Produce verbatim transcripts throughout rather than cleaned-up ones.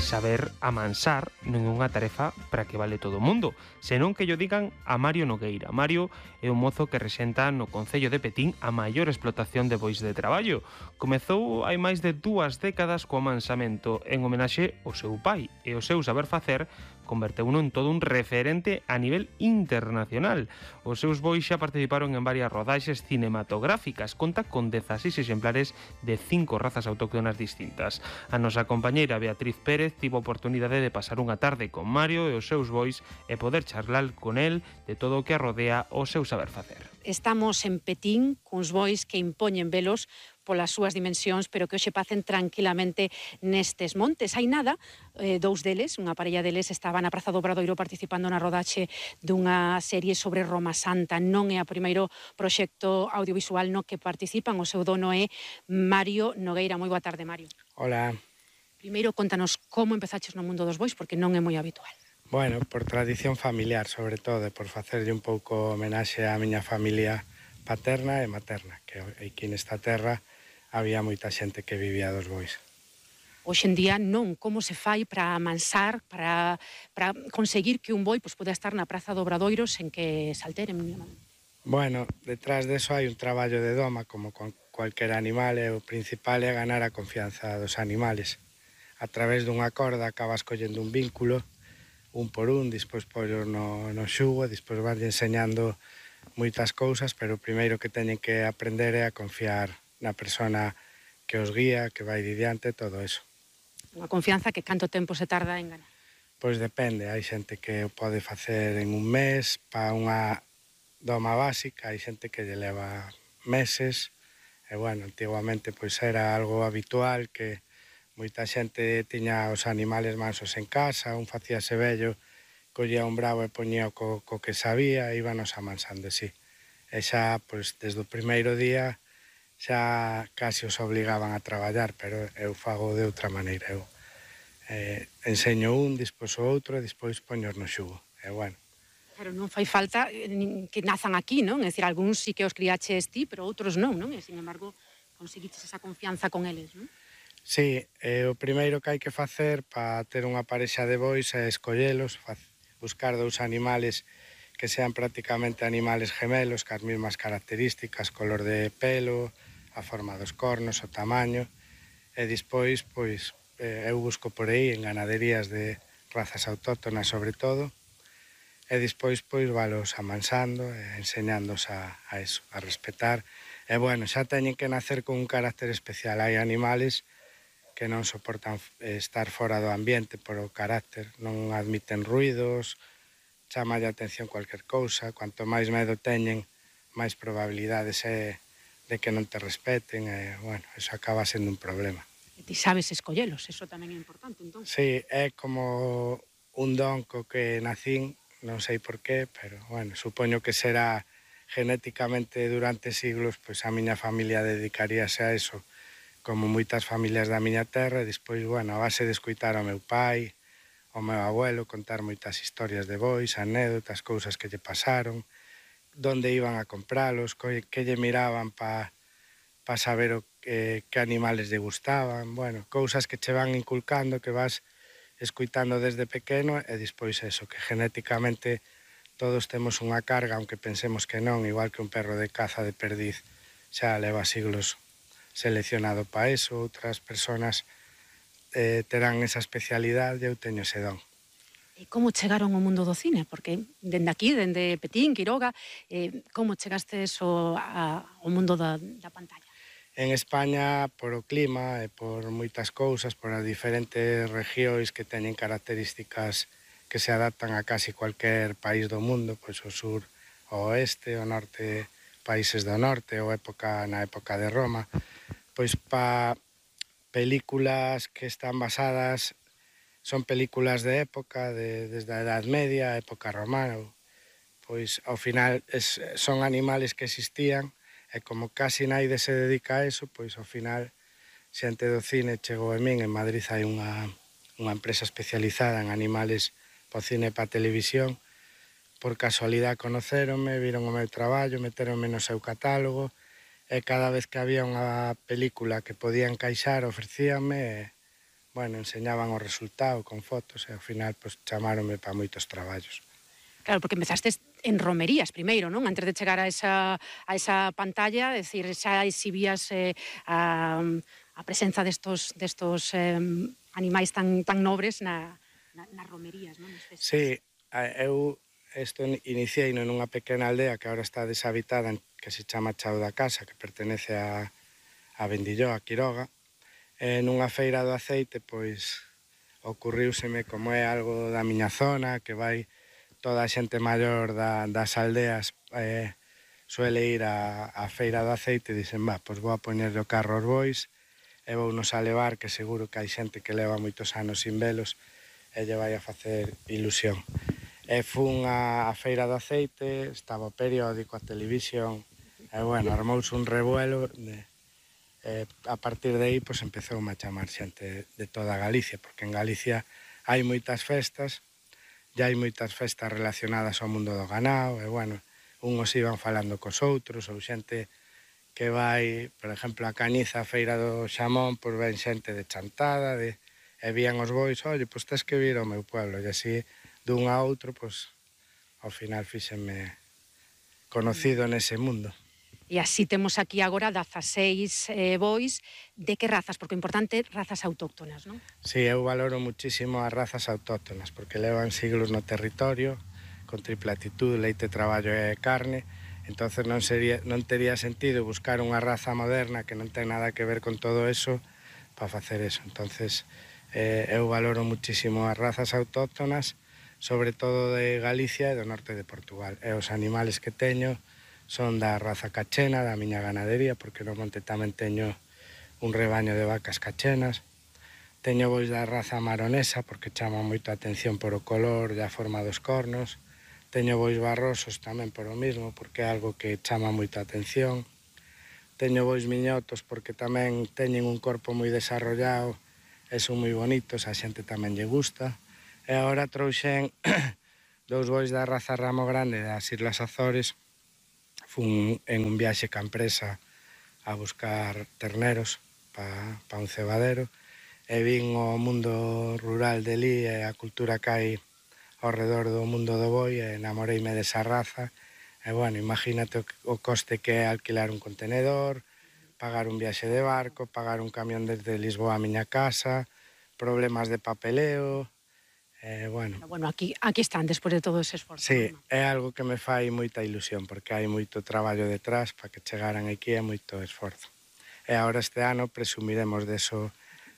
Saber amansar non é unha tarefa para que vale todo o mundo, senón que llo digan a Mario Nogueira. Mario é un mozo que rexenta no Concello de Petín a maior explotación de bois de traballo. Comezou hai máis de dúas décadas co amansamento en homenaxe ao seu pai e o seu saber facer converteuno en todo un referente a nivel internacional. Os seus bois xa participaron en varias rodaxes cinematográficas. Conta con dezaseis exemplares de cinco razas autóctonas distintas. A nosa compañeira Beatriz Pérez tivo a oportunidade de pasar unha tarde con Mario e os seus bois e poder charlar con el de todo o que arrodea o seu saber facer. Estamos en Petín, cuns bois que impoñen velos polas súas dimensións, pero que hoxe pacen tranquilamente nestes montes. Hai nada, eh, dous deles, unha parella deles, estaban na Praza do Obradoiro participando na rodaxe dunha serie sobre Roma Santa. Non é o primeiro proxecto audiovisual no que participan, o seu dono é Mario Nogueira. Moi boa tarde, Mario. Hola. Primeiro, contanos como empezaches no mundo dos bois, porque non é moi habitual. Bueno, por tradición familiar, sobre todo, por facerlle un pouco homenaxe á miña familia paterna e materna, que aquí nesta terra había moita xente que vivía dos bois. Hoxe en día non, como se fai para amansar, para, para conseguir que un boi pues, poda estar na Praza do Obradoiro sen que salteren? Bueno, detrás deso hai un traballo de doma, como con cualquier animal, e o principal é ganar a confianza dos animales. A través dunha corda acabas collendo un vínculo, un por un, despois pollo no, no xugo, despois van enseñando moitas cousas, pero o primeiro que teñen que aprender é a confiar na persona que os guía, que vai diante, todo eso. Unha confianza que canto tempo se tarda en ganar? Pois depende, hai xente que o pode facer en un mes, para unha doma básica, hai xente que lle leva meses, e bueno, antiguamente pois era algo habitual que moita xente tiña os animales mansos en casa, un facíase vello, collía un bravo e poñía co, co que sabía, e íbanos amansando, sí. E xa, pois, desde o primeiro día, xa casi os obligaban a traballar, pero eu fago de outra maneira. Eu eh, enseño un, despois o outro, e despois poños no xugo. E bueno. Pero non fai falta que nazan aquí, non? É dicir, algúns sí que os criaches ti, pero outros non, non? E, sin embargo, conseguiches esa confianza con eles, non? Sí, eh, o primeiro que hai que facer para ter unha parexa de bois é escollelos, buscar dous animales que sean prácticamente animales gemelos, cas mesmas características, color de pelo, a forma dos cornos, o tamaño, e despois, pois, eh, eu busco por aí en ganaderías de razas autóctonas sobre todo, e despois, pois, valos amansando e enseñándos a, a eso, a respetar. E, bueno, xa teñen que nacer con un carácter especial. Hai animales que non soportan estar fora do ambiente por o carácter, non admiten ruidos, chama a atención cualquier cousa, cuanto máis medo teñen, máis probabilidades é de que non te respeten, e, bueno, eso acaba sendo un problema. E ti sabes escollelos, eso tamén é importante, entón. Sí, é como un don co que nacín, non sei por qué, pero, bueno, supoño que será genéticamente durante siglos, pois a miña familia dedicaríase a eso, como moitas familias da miña terra, e despois, bueno, a base de escoitar ao meu pai, ao meu abuelo, contar moitas historias de bois, anécdotas, cousas que lle pasaron, donde iban a compralos, que lle miraban para pa saber o que, que animales lle gustaban, bueno, cousas que che van inculcando, que vas escoitando desde pequeno, e despois eso, que genéticamente todos temos unha carga, aunque pensemos que non, igual que un perro de caza de perdiz xa leva siglos seleccionado para eso, outras persoas eh, terán esa especialidade, eu teño ese don. E como chegaron ao mundo do cine? Porque dende aquí, dende Petín, Quiroga, eh, como chegastes ao, ao mundo da, da pantalla? En España, por o clima e por moitas cousas, por as diferentes regións que teñen características que se adaptan a casi cualquier país do mundo, pois o sur, o oeste, o norte, países do norte, ou época na época de Roma, pois pa películas que están basadas, son películas de época, de, desde a Edad Media, a época romana, pois ao final es, son animales que existían, e como casi naide se dedica a eso, pois ao final xente do cine chegou a min. En Madrid hai unha, unha empresa especializada en animales para o cine e para a televisión. Por casualidade conocéronme, viron o meu traballo, meteronme no seu catálogo, e cada vez que había unha película que podía encaixar, ofrecíanme, e, bueno, enseñaban o resultado con fotos e ao final pues, chamáronme para moitos traballos. Claro, porque empezaste en romerías primeiro, non? Antes de chegar a esa, a esa pantalla, decir, xa exhibías eh, a, a presenza destos, destos eh, animais tan, tan nobres na, na, nas romerías, non? Sí, eu isto iniciei nunha pequena aldea que agora está deshabitada, que se chama Chao da Casa, que pertenece a, a Vendilló, a Quiroga. E nunha feira do aceite, pois, ocurriuseme como é algo da miña zona, que vai toda a xente maior da, das aldeas eh, suele ir a, a feira do aceite e dicen, va, pois vou a poñerle o carro aos bois e vou nos a levar, que seguro que hai xente que leva moitos anos sin velos e lle vai a facer ilusión. E fun a, a feira do aceite, estaba o periódico, a televisión, e bueno, armouse un revuelo, de, e a partir de aí pues, empezou a chamar xente de toda Galicia, porque en Galicia hai moitas festas, e hai moitas festas relacionadas ao mundo do ganado, e bueno, unhos iban falando cos outros, ou xente que vai, por exemplo, a Cañiza, a feira do Xamón, pois ven xente de Chantada, de, e vían os bois, oye, pois tes que vir ao meu pueblo, e así, dun a outro, pois, ao final fíxenme conocido nese mundo. E así temos aquí agora dezaseis eh, bois. De que razas? Porque o importante, razas autóctonas, non? Sí, eu valoro muchísimo as razas autóctonas, porque levan siglos no territorio, con tripla actitud, leite, traballo e carne, entonces non, sería, non tería sentido buscar unha raza moderna que non ten nada que ver con todo eso para facer eso. Entonces, eh, eu valoro muchísimo as razas autóctonas, sobre todo de Galicia e do norte de Portugal. E os animales que teño son da raza cachena, da miña ganadería, porque no monte tamén teño un rebaño de vacas cachenas. Teño bois da raza maronesa, porque chama moito a atención por o color e a forma dos cornos. Teño bois barrosos tamén por o mismo, porque é algo que chama moito a atención. Teño bois miñotos, porque tamén teñen un corpo moi desarrollado e son moi bonitos, a xente tamén lle gusta. E agora trouxen dous bois da raza Ramo Grande das Islas Azores. Fun en un viaxe ca empresa a buscar terneros para pa un cebadero e vin o mundo rural de li e a cultura que hai ao redor do mundo do boi e enamoreime desa raza. E, bueno, imagínate o coste que é alquilar un contenedor, pagar un viaxe de barco, pagar un camión desde Lisboa a miña casa, problemas de papeleo. Eh, bueno. bueno, aquí, aquí están, despois de todo ese esforzo. Sí, ¿no? É algo que me fai moita ilusión, porque hai moito traballo detrás para que chegaran aquí e moito esforzo. E agora este ano presumiremos deso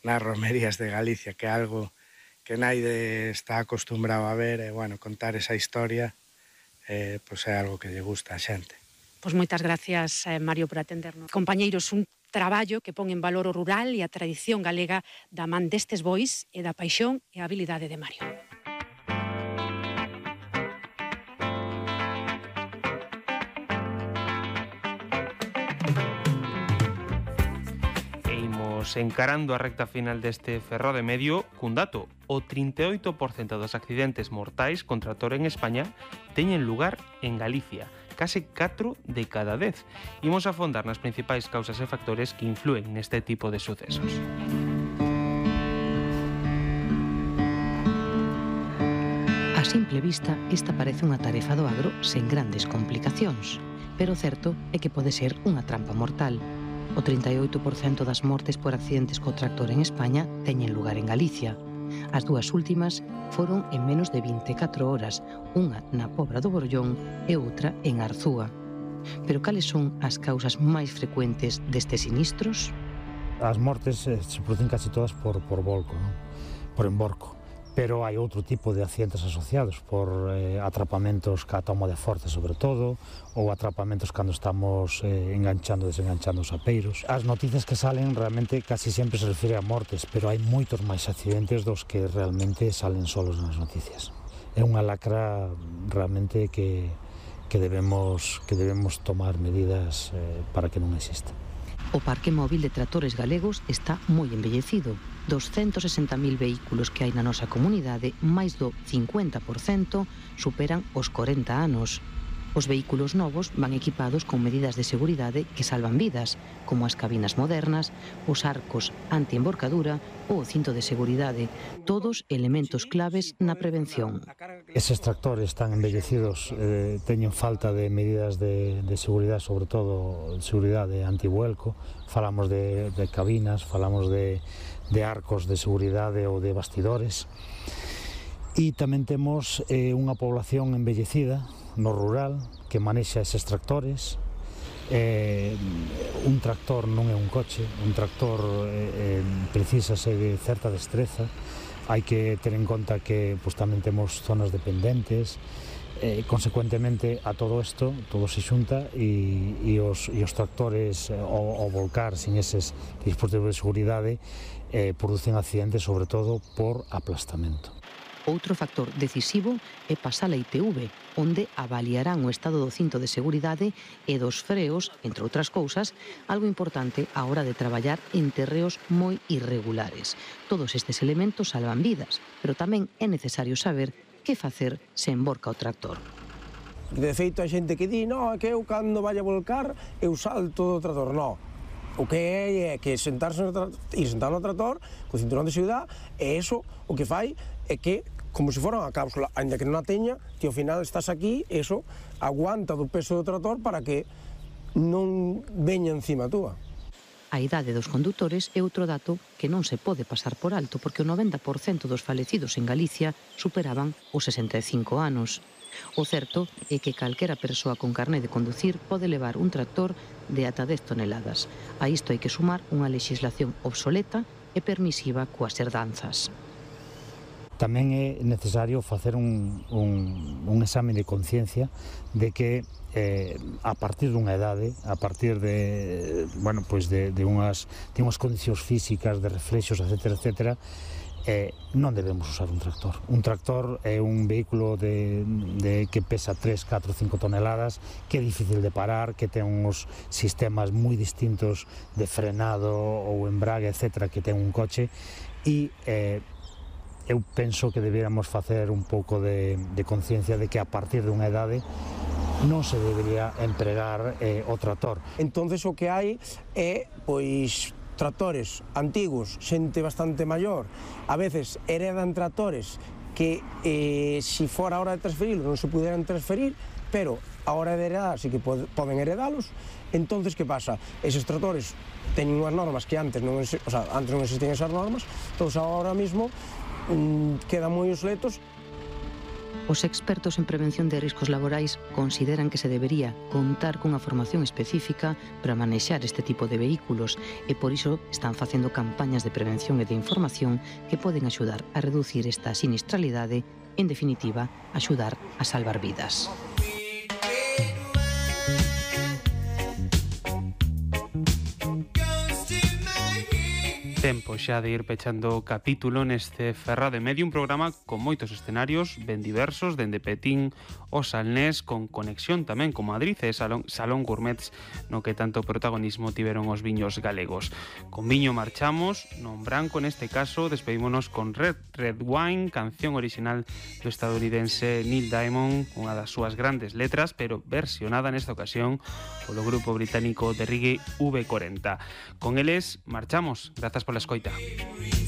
nas romerías de Galicia, que é algo que naide está acostumbrado a ver, e, bueno, contar esa historia, eh, pois é algo que lle gusta a xente. Pois moitas gracias, eh, Mario, por atendernos. Compañeiros, un traballo que pon en valor o rural e a tradición galega da man destes bois e da paixón e a habilidade de Mario. E imos encarando a recta final deste Ferrol de Medio cun dato. O trinta e oito por cento dos accidentes mortais con tractor en España teñen lugar en Galicia, case catro de cada dez. Imos a afondar nas principais causas e factores que influen neste tipo de sucesos. A simple vista, esta parece unha tarefa do agro sen grandes complicacións, pero o certo é que pode ser unha trampa mortal. O trinta e oito por cento das mortes por accidentes co tractor en España teñen lugar en Galicia. As dúas últimas foron en menos de vinte e catro horas, unha na Pobra do Borgollón e outra en Arzúa. Pero cales son as causas máis frecuentes destes sinistros? As mortes eh, se producen casi todas por, por volco, non? Por emborco. Pero hai outro tipo de accidentes asociados por eh, atrapamentos ca toma de forza, sobre todo, ou atrapamentos cando estamos eh, enganchando e desenganchando os apeiros. As noticias que salen realmente casi sempre se refire a mortes, pero hai moitos máis accidentes dos que realmente salen solos nas noticias. É unha lacra realmente que, que, debemos, que debemos tomar medidas eh, para que non exista. O parque móvil de tractores galegos está moi envellecido. Dos ciento sesenta mil vehículos que hai na nosa comunidade, máis do cincuenta por cento superan os corenta anos. Os vehículos novos van equipados con medidas de seguridade que salvan vidas, como as cabinas modernas, os arcos anti-emborcadura ou o cinto de seguridade, todos elementos claves na prevención. Eses tractores tan envellecidos eh, teñen falta de medidas de, de seguridade, sobre todo seguridade antivuelco. Falamos de, de cabinas, falamos de, de arcos de seguridade ou de bastidores. E tamén temos eh, unha población envellecida no rural que manexa eses tractores. Eh, un tractor non é un coche, un tractor eh, eh, precisase de certa destreza. Hai que ter en conta que pues, tamén temos zonas dependentes. Eh, consecuentemente a todo isto, todo se xunta e, e, os, e os tractores ao, ao volcar sin eses dispositivos de seguridade eh, producen accidentes sobre todo por aplastamento. Outro factor decisivo é pasar a I T V, onde avaliarán o estado do cinto de seguridade e dos freos, entre outras cousas, algo importante á hora de traballar en terreos moi irregulares. Todos estes elementos salvan vidas, pero tamén é necesario saber que facer se emborca o tractor. De feito, hai xente que di, no, é que eu cando vai a volcar, eu salto do tractor. No, o que é é que sentarse no trator, ir sentar no trator, co cinturón de seguridade, e eso o que fai é que, como se fora unha cápsula, ainda que non a teña, que ao final estás aquí, eso aguanta do peso do trator para que non veña encima túa. A idade dos condutores é outro dato que non se pode pasar por alto, porque o noventa por cento dos falecidos en Galicia superaban os sesenta e cinco anos. O certo é que calquera persoa con carné de conducir pode levar un tractor de ata dez toneladas. A isto hai que sumar unha legislación obsoleta e permisiva coas herdanzas. Tamén é necesario facer un, un, un exame de conciencia de que eh, a partir dunha edade, a partir de, bueno, pues de, de, unhas, de unhas condicións físicas, de reflexos, etcétera, etcétera, eh, non debemos usar un tractor. Un tractor é un vehículo de, de que pesa tres, catro, cinco toneladas, que é difícil de parar, que ten uns sistemas moi distintos de frenado ou embrague, etcétera, que ten un coche, e eh, eu penso que deberíamos facer un pouco de, de conciencia de que a partir dunha edade non se debería empregar eh, o tractor. Entonces o que hai é, pois, tractores antigos, xente bastante maior, a veces heredan tractores que, eh, se fora a hora de transferirlos, non se puderan transferir, pero a hora de heredar sí que pod poden heredalos. Entonces, que pasa? Eses tractores teñen unhas normas que antes non, o sea, antes non existían esas normas, entón agora mismo quedan moi obsoletos. Os expertos en prevención de riscos laborais consideran que se debería contar cunha formación específica para manexar este tipo de vehículos e por iso están facendo campañas de prevención e de información que poden axudar a reducir esta sinistralidade, en definitiva, axudar a salvar vidas. Tempo xa de ir pechando o capítulo neste Ferrado e Medio, un programa con moitos escenarios ben diversos, dende Petín o Salnés, con conexión tamén con Madrid e Salón, Salón Gourmets, no que tanto protagonismo tiveron os viños galegos. Con viño marchamos, non branco neste caso, despedímonos con Red Red Wine, canción original do estadounidense Neil Diamond, unha das súas grandes letras, pero versionada nesta ocasión polo grupo británico de reggae V cuarenta. Con eles marchamos, grazas pola escoita.